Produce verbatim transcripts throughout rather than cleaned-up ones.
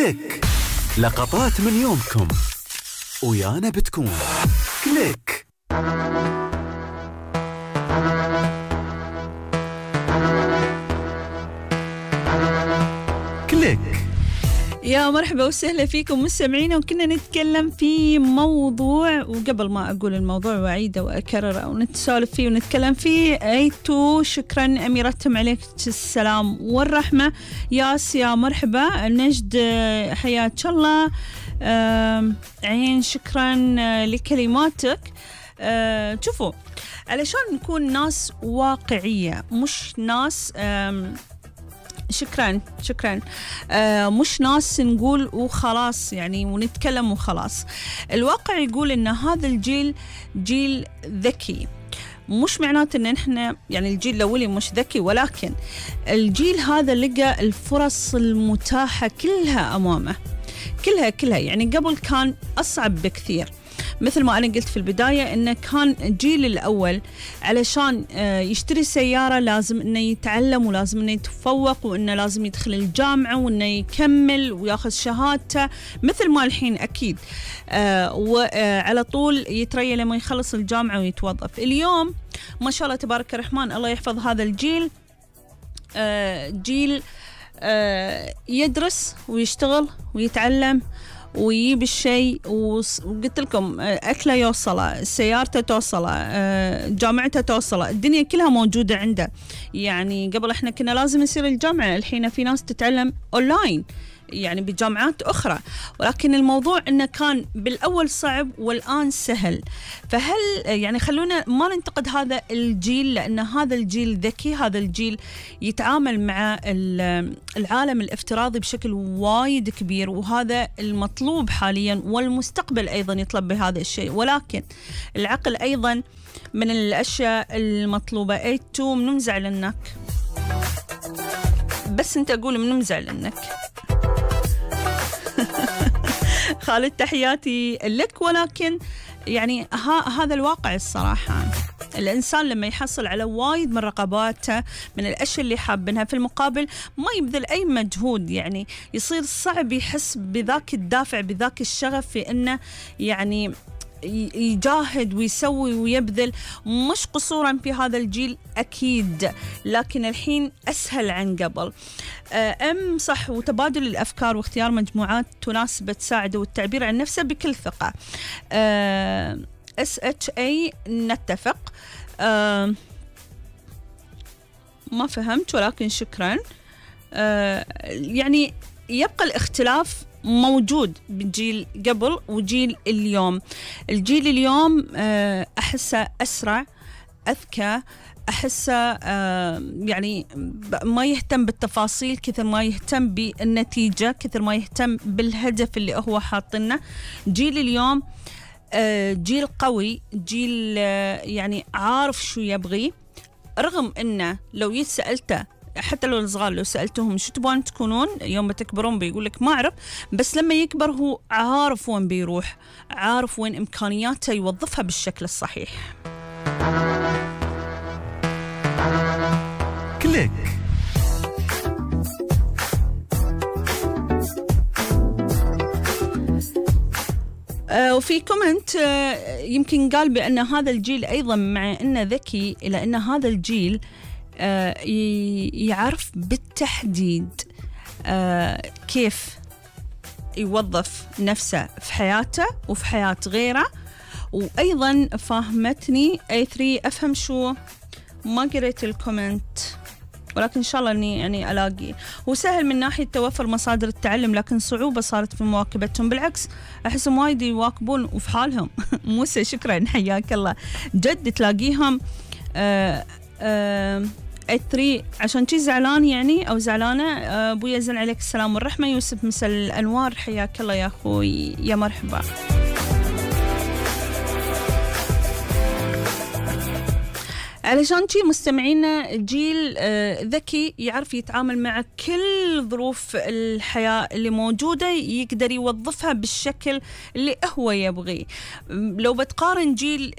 كليك، لقطات من يومكم ويانا بتكون كليك. كليك. يا مرحبا وسهلا فيكم مستمعينا، وكنا نتكلم في موضوع، وقبل ما أقول الموضوع وأعيده وأكرر أو نتسولف فيه ونتكلم فيه، أيتو شكرا أميرتهم عليك السلام والرحمة. ياس يا مرحبا. نجد حياك الله. عين شكرا لكلماتك. شوفوا، علشان نكون ناس واقعية مش ناس شكرا شكرا آه مش ناس نقول وخلاص يعني ونتكلم وخلاص. الواقع يقول إن هذا الجيل جيل ذكي، مش معناته إن إحنا يعني الجيل الأولي مش ذكي، ولكن الجيل هذا لقى الفرص المتاحة كلها أمامه، كلها كلها يعني قبل كان أصعب بكثير. مثل ما أنا قلت في البداية إنه كان الجيل الأول علشان يشتري سيارة لازم إنه يتعلم ولازم إنه يتفوق وإنه لازم يدخل الجامعة وإنه يكمل وياخذ شهادته، مثل ما الحين أكيد وعلى طول يتريى لما يخلص الجامعة ويتوظف. اليوم ما شاء الله تبارك الرحمن، الله يحفظ هذا الجيل، جيل يدرس ويشتغل ويتعلم ويجيب الشيء، وقلت لكم أكله يوصله، سيارته توصله، جامعته توصله، الدنيا كلها موجودة عنده. يعني قبل إحنا كنا لازم نصير الجامعة، الحين في ناس تتعلم أونلاين يعني بجامعات أخرى، ولكن الموضوع إنه كان بالأول صعب والآن سهل. فهل يعني خلونا ما ننتقد هذا الجيل، لأن هذا الجيل ذكي، هذا الجيل يتعامل مع العالم الافتراضي بشكل وايد كبير، وهذا المطلوب حاليا والمستقبل أيضا يطلب بهذا الشيء، ولكن العقل أيضا من الأشياء المطلوبة. أيتو من مزعلنك، بس أنت أقول من مزعلنك. خالد تحياتي لك، ولكن يعني ها هذا الواقع الصراحة. الإنسان لما يحصل على وايد من رقباته من الأشياء اللي حابنها، في المقابل ما يبذل أي مجهود، يعني يصير صعب يحس بذاك الدافع بذاك الشغف في إنه يعني يجاهد ويسوي ويبذل. مش قصورا في هذا الجيل أكيد، لكن الحين أسهل عن قبل. أم صح، وتبادل الأفكار واختيار مجموعات تناسب تساعده والتعبير عن نفسه بكل ثقة. اس اتش اي نتفق. أه ما فهمت ولكن شكرا. أه يعني يبقى الاختلاف موجود بالجيل قبل وجيل اليوم. الجيل اليوم أحسه أسرع، أذكى، أحسه يعني ما يهتم بالتفاصيل كثر ما يهتم بالنتيجة، كثر ما يهتم بالهدف اللي هو حاطنه. جيل اليوم جيل قوي، جيل يعني عارف شو يبغي، رغم أنه لو يسألته حتى لو الصغار لو سألتهم شو تبغون تكونون يوم ما تكبرون بيقول لك ما أعرف، بس لما يكبر هو عارف وين بيروح، عارف وين إمكانياته يوظفها بالشكل الصحيح. كليك. آه وفي كومنت آه يمكن قال بأن هذا الجيل أيضا مع أنه ذكي، إلا أن هذا الجيل آه يعرف بالتحديد آه كيف يوظف نفسه في حياته وفي حياة غيره. وأيضا فاهمتني اي ثري أفهم شو، ما قريت الكومنت ولكن إن شاء الله أني يعني ألاقي. وسهل من ناحية توفر مصادر التعلم، لكن صعوبة صارت في مواكبتهم، بالعكس أحسهم وايد يواكبون وفي حالهم. موسى شكرا حياك الله. جد تلاقيهم آه آه ثري عشان شي زعلان يعني أو زعلانة. أبويا زن عليك السلام والرحمة. يوسف مساء الأنوار، حياك الله يا أخوي، يا مرحبا. علشان شي مستمعينا جيل ذكي يعرف يتعامل مع كل ظروف الحياة اللي موجودة، يقدر يوظفها بالشكل اللي هو يبغي. لو بتقارن جيل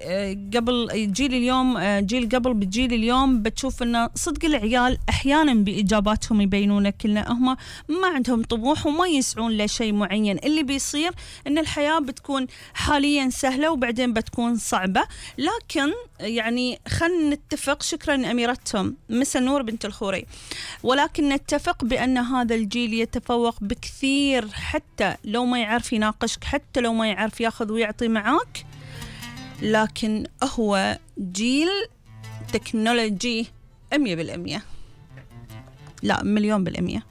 قبل جيل اليوم جيل قبل بالجيل اليوم بتشوف إنه صدق العيال أحيانا بإجاباتهم يبينون كلنا هم ما عندهم طموح وما يسعون لشيء معين. اللي بيصير إن الحياة بتكون حاليا سهلة وبعدين بتكون صعبة. لكن يعني خلنا نتفق، شكرا أميرتهم مسا نور بنت الخوري، ولكن نتفق بأن هذا الجيل يتفوق بكثير، حتى لو ما يعرف يناقشك، حتى لو ما يعرف ياخذ ويعطي معاك، لكن هو جيل تكنولوجي مية بالمية، لا مليون بالمية.